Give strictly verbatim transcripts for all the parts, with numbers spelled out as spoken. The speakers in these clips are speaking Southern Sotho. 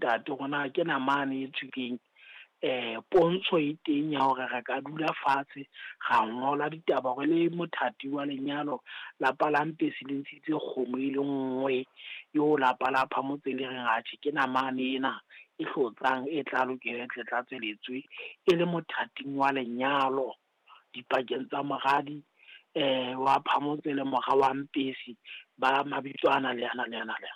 ntate hore na ke namane e tswileng eh pontsho e teng ya hore re ka dula fatshe ra ngola ditaba hore le mothati wa lenyalo lapa la Mpesi le ntshitse kgomo e le nngwe eo lapa la Phamotse le reng atjhe ke namane ena e hlotsang e tla lokela e tle tla tsweletswe e le mothating wa lenyalo dipakeng tsa moradi eh wa Phamotse le mora wa Mpesi ba mabitso ana le ana le ana le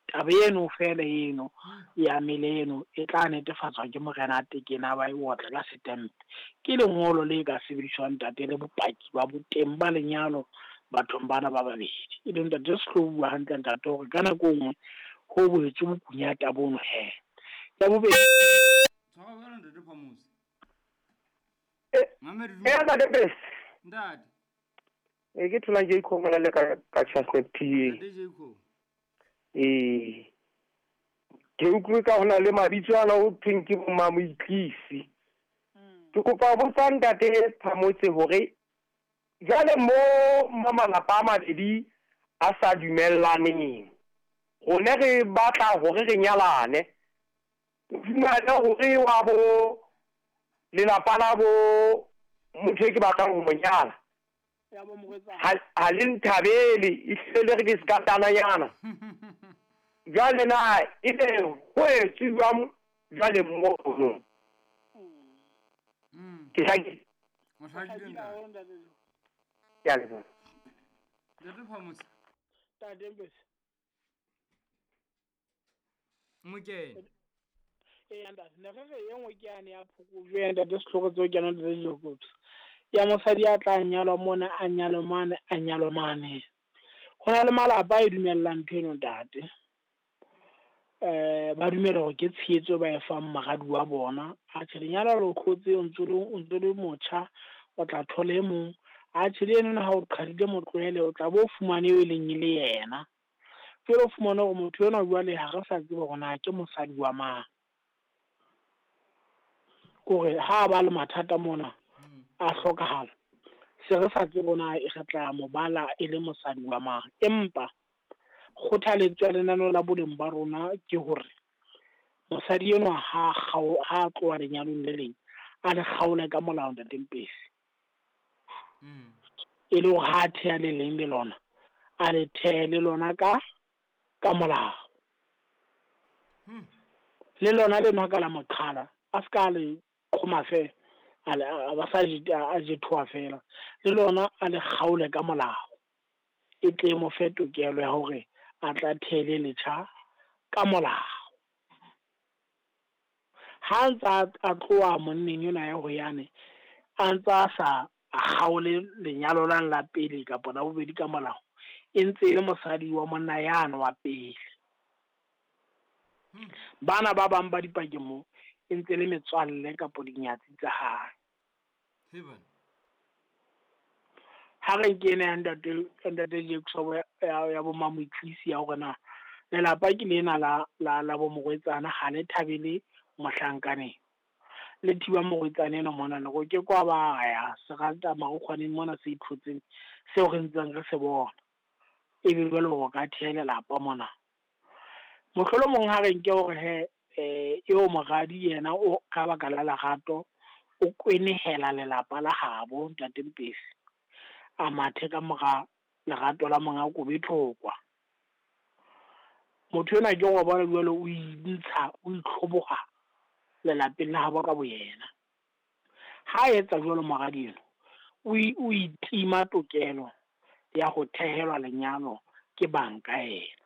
taba eno fela eno ya mele eno e tla netefatswa ke morena Tekena ba e otla ka setempe ke lengolo le ka sebediswang ntate le bopaki ba boteng ba lenyalo bathong bana ba babedi e leng ntate se tlo bua hantle ntate hore ka nako nngwe ho boetse bokunyata bono he ya bobedi tshwara bana ntate Phamotse eh eh ntate Pesi ntate e ke thola Jacob mona le ka ka Chestnut P A ntate Jacob eh ke utlwe ka hona le mabitso ana o thweng ke bo Mamoitlisi ke kopa botsa ntate Phamotse hore jwale mo mo malapa a mabedi a sa dumellaneng rone re batla hore re nyalane o fumane hore wa bo lelapa la bo motho e ke batlang ho mo nyala ha le nthabele ehlile le re ke sekatananyana jwale na ebe ho etsuwang jwale mono ke hlakile o hlakile ntate ke a leboha ntate Phamotse ntate Mpesi Mokene e ntate ne re re e nngwe ke yane ya phokojwe ya ntate sehlooho tseo ke yona ntate Jacobs ya mosadi a tla nyalwa mona a nyalwa mane a nyalwa mane ho na le malapa a e dumellang ntho eno ntate eh ba dumela hore ke tshehetso ba e fang moradi wa bona atjhe lenyalo le khotse o ntse o ntse le motjha o tla thola e mong atjhe le eno ha o qhadile motlohele o tla bo fumane eo e leng e le yena jwale o fumane hore motho enwa jwale ha re sa tsebe hore na ke mosadi wa mang kore ha ba le mathata mona a hlokahala se re sa tsebe na e re tla mo bala e le mosadi wa mang empa kgothaletso ya lenaneo la boleng ba rona ke hore mosadi enwa ha ha tloha lenyalong le leng a le kgaole ka molao ntate Mpesi e le hore ha theha le leng le lona a le thehe le lona ka ka molao le lona le nwa ka la moqhala a se ka le qhoma fela a ba sa a jethoa fela le lona a le kgaole ka molao e tle mo fe tokelo ya hore a tla thele letjha ka molao ha ntsa a tloha monneng yona ya ho yane a ntsa sa a kgaole lenyalo la la pele kapa la bobedi ka molao e ntse e le mosadi wa monna yane wa pele bana ba bang ba dipakeng mo e ntse le metswalle kapa dinyatsi tsa hae ha re nke ena ya ntate ntate Jacob ya ya bo Mamoitlisi ya hore na lelapa ke lena la la la bo morwetsana ha le thabele mohlankaneng le thiba morwetsana ena mona le go ke kwa ba ya se rata marukgwaneng mona se ithotseng seo re ntseng re se bona ebe jwale ho ka theha lelapa mona mohlolomong ha re nke hore he eh eo moradi yena o ka baka la lerato o kwenehela lelapa la habo ntate Mpesi a mathe ka mora lerato la monga kobe thokwa motho ena ke go bona jwale o intsha o itlhoboga lelapeng la habo ka boyena ha etsa jwalo moradi eno o itima tokelo ya ho thehelwa lenyalo ke banka ena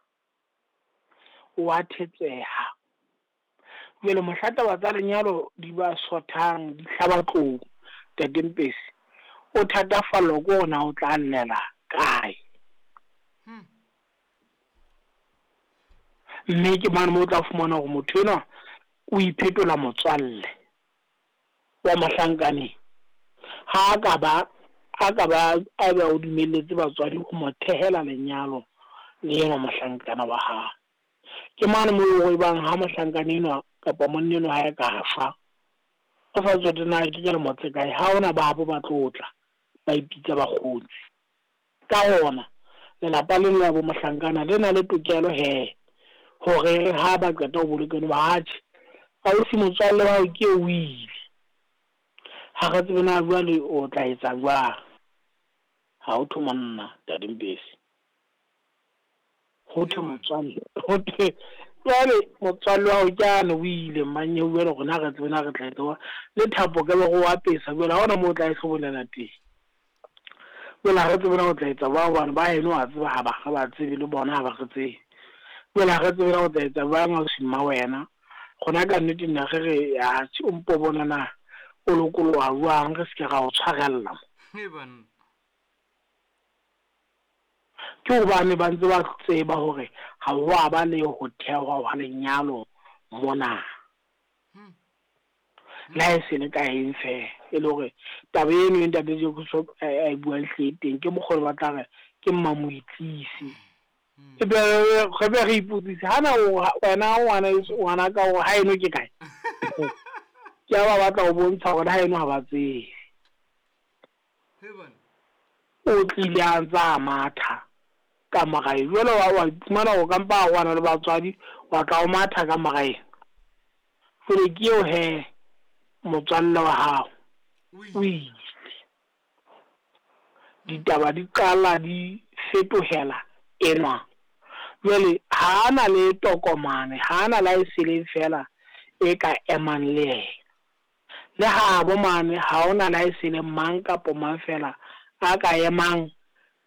o a thetseha jwale mohla taba tsa lenyalo di ba sothang di hlaba tlou ntate Mpesi o thatafallwa ke hore na o tla llela kae mme ke mane moo o tla fumana hore motho enwa o iphetola motswalle wa mohlankaneng ha a ka ba a ka ba a ba o dumelletse batswadi ho mo thehela lenyalo le enwa mohlankana wa hae ke mane moo o bang ha mohlankana enwa kapa monna enwa ha e ka fa o sa tsotse na ke ke le motse kae ha ona ba bo ba tlotla ba ipitsa bakgotsi ka hona lelapa le la bo mohlankana le na le tokelo he Hore ha ba qeta ho bolokeng ba atjhe ausi motswalle wa hao ke o ile. Ha re tsebe na jwale o tla etsa jwang. Ha ho thwe monna Ntate Mpesi. Ho thwe motswalle, ho thwe jwale motswalle wa hao ke ane o ile mmanyeo jwale rona re tsebe na re tla etsa jwang. Le thapo ka be re o apesa jwale ha hona moo o tla e hlobolela teng. Jwale ha re tsebe na o tla etsa jwang hobane ba heno wa tseba ha ba re ba tsebe le bona ha ba re tsebe. Jwale ha re tsebe na o tla etsa jwang ausi mma wena. Rona ka nnete nna re re atjhe o mpo bona na o lokoloha jwang re se ke ra o tshwarella. Ke hobane ba ntse ba tseba hore ha ho a ba le ho thehwa hwa lenyalo mona. Le ha e se le ka eng feela e le hore taba eno e ntate Jacob a e buang hle teng ke mokgwa o ba tla re ke mmamoitlisi. E be re be re ipotsise hana wena ngwana ngwana ka hore ha eno ke kae. Ke a ba batla ho bontsha hore ha eno ha ba tsebe. O tlile a ntsa matha ka mora jwale wa wa iphumana o kampa wa le batswadi wa tla o matha ka mora ena. Jwale ke eo he motswalle wa hao o ile. Ditaba di qala di fetohela enwa. Jwale ha ana le tokomane, ha ana la e seleng fela e ka emang le yena. Le ha bo mane ha ona la e seleng mang kapo mang fela a ka emang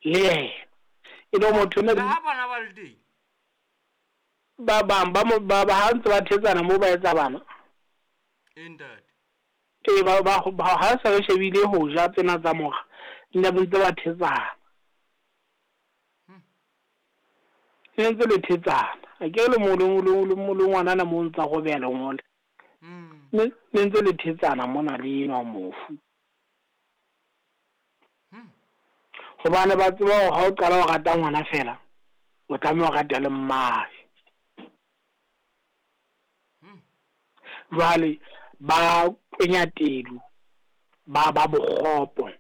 le yena. E le motho ne ha bana ba le teng. Ba bang ba mo ba ha ntse ba thetsana mo ba etsa bana. E ntate. E ba ba ha se re shebile ho ja tsena tsa mora. Nna ba ntse ba thetsana. Ne ntse le thetsana. A ke le mo le le mo le ngwana na mo ntsa go bela ngole. Ne ntse le thetsana mona le enwa mofu. Hobane ba tseba hore ha o qala ho rata ngwana fela o tlameha ho rata le mmae. Jwale ba kwenya tedu ba ba bokgopo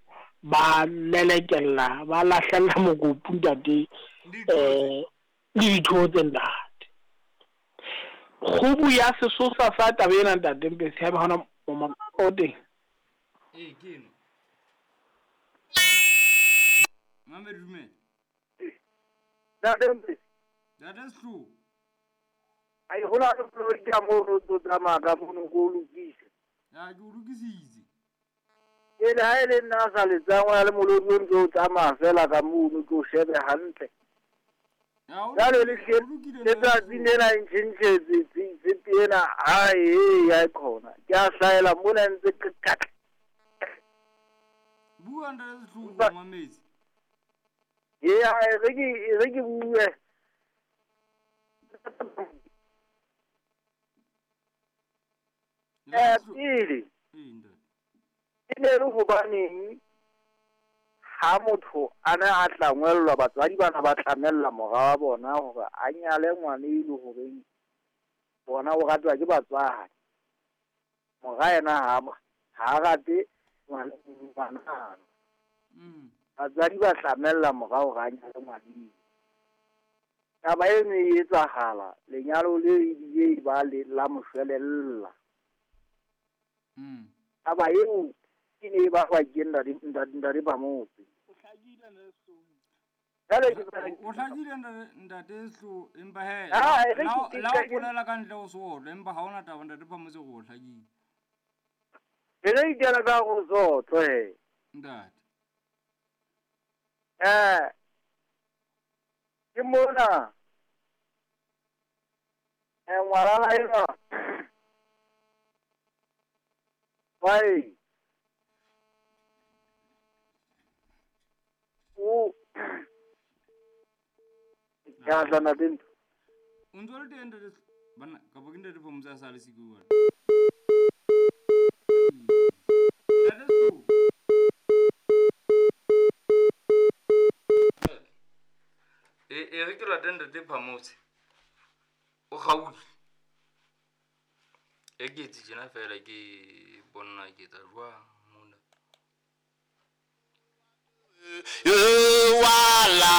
ba lelekella ba lahlella mokopu ntate eh le dithotse ntate. Kgubu ya sesosa sa taba ena ntate Mpesi ha hona o teng. Ee ke eno. Mame dumela. Ntate Mpesi. Ntate Sehloho. Ai hona le koloi ka mo ro tlo tsamaya ka mono ko lokise. Ya ke o lokisitse. E le ha e le nna sa letsang wa le molodi o ntse o tsamaya fela ka mono ke o shebe hantle. Jwale le letsatsi lena e ntjhentjhetse tshepe ena ha e ya khona. Ke a hlahela mona ntse ke Bua ntate Sehloho mametse. Ee re ke re ke bue. Eh pele e ne le hobaneng ha motho a ne a tlangwellwa batswadi bana ba tlamella mora wa bona hore a nyale ngwana e le horeng bona o ratwa ke batswadi. Mora yena ha ha rate ngwana. Batswadi ba tlamella mora hore a nyale ngwana. Taba eno e etsahala lenyalo le ebile ba le la moshwelella. Taba eo ke ne ba ba ke ntate ntate ba motse. O hlakile ntate Sehloho. O hlakile ntate Sehloho empa he la o bolela ka ntle ho sotlo empa ha ona taba ntate Phamotse go hlakile. Re re itela ka go sotlo he. Ntate. Eh ke mona eh ngwana ena Vai. O ya tla dentro. O ntse le teng ntate bana ka bo ke ntate Phamotse a sa le siko wa. Ntate Sehloho. E e re ke lata ntate Phamotse. O gaufi. E ke etse tjena fela ke bona ke tsa jwang mona. You are